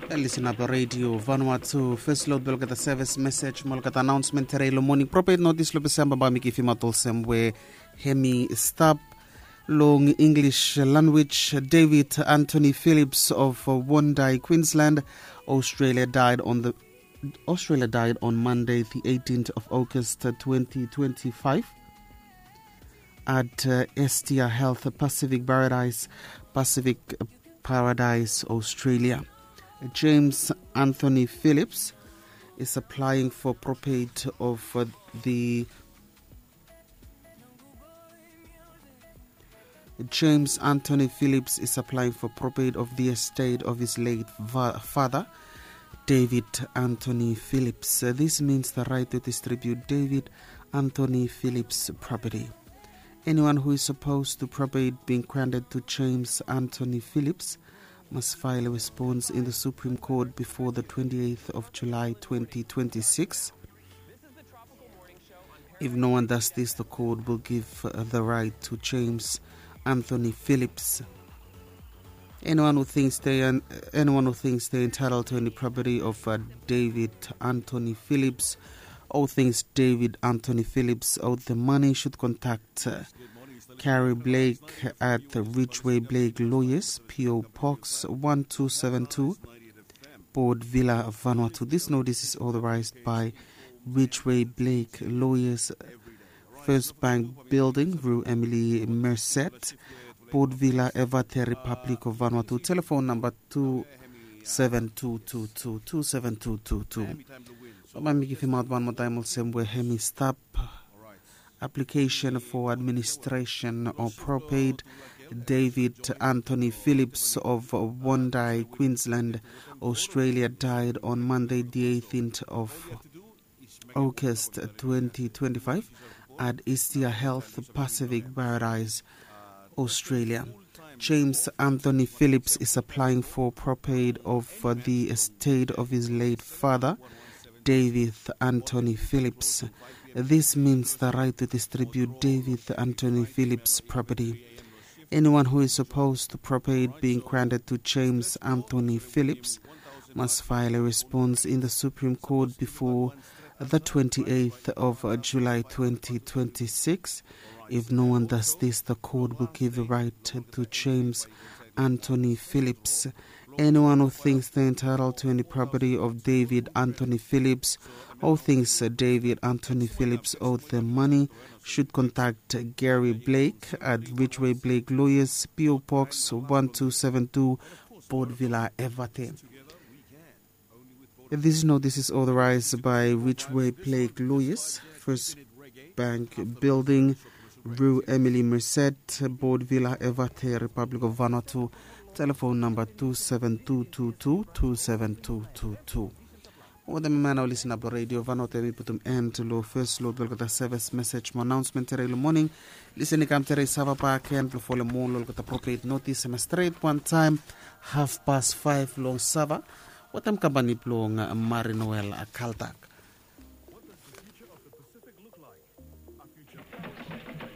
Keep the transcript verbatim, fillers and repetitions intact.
Listen up Radio Vanuatu. First load beloketa service message moloketa announcement tere lo morning. Prophet notice lo December ba mi givim out olsem we hemi stop long English language. David Anthony Phillips of Wondai, Queensland, Australia died on the Australia died on Monday, the eighteenth of August, uh, twenty twenty-five, at uh, Estia Health Pacific Paradise, Pacific Paradise, Australia. James Anthony Phillips is applying for probate of uh, the James Anthony Phillips is applying for probate of the estate of his late va- father, David Anthony Phillips. Uh, this means the right to distribute David Anthony Phillips' property. Anyone who is supposed to probate being granted to James Anthony Phillips must file a response in the Supreme Court before the twenty-eighth of July twenty twenty-six. If no one does this, the court will give uh, the right to James Anthony Phillips. Anyone who thinks they are, anyone who thinks they're entitled to any property of uh, David Anthony Phillips, or thinks David Anthony Phillips owed the money, should contact uh, Carrie Blake at the Ridgway Blake Lawyers, P O Box one two seven two, Port Vila, Vanuatu. This notice is authorized by Ridgway Blake Lawyers, First Bank Building, Rue Emily Merced, Port Vila, Evate, Republic of Vanuatu. Telephone number two seven two two two two seven two two two. Baba mi givim out one more time olsem we hemi stop. Application for administration of probate. David Anthony Phillips of Wondai, Queensland, Australia, died on Monday, the eighteenth of August twenty twenty-five, at Istia Health Pacific Paradise, Australia. James Anthony Phillips is applying for probate of uh, the estate of his late father, David Anthony Phillips. This means the right to distribute David Anthony Phillips' property. Anyone who is supposed to probate being granted to James Anthony Phillips must file a response in the Supreme Court before the twenty-eighth of uh, July twenty twenty-six. If no one does this, the court will give the right to James Anthony Phillips. Anyone who thinks they're entitled to any property of David Anthony Phillips or thinks uh, David Anthony Phillips owed them money should contact Gary Blake at Ridgway Blake Lawyers, P O Box one two seven two, Port Vila, Evate. This notice is authorized by Ridgway Blake Lawyers, First Bank Building, Rue Emily Merced, Port Vila, Evate, Republic of Vanuatu. Telephone number two seven two two two two seven two two two. Wetem i man o listen up lo Radio Vanuatu, mi putum end lo first lo olgeta service message mo announcement tere lo morning. Listen i kam tere i sava bak en blo folem mo lo olgeta probate notice hemi stret wan taem half past five long sava wetem kampani blong Marinoel Kaltak.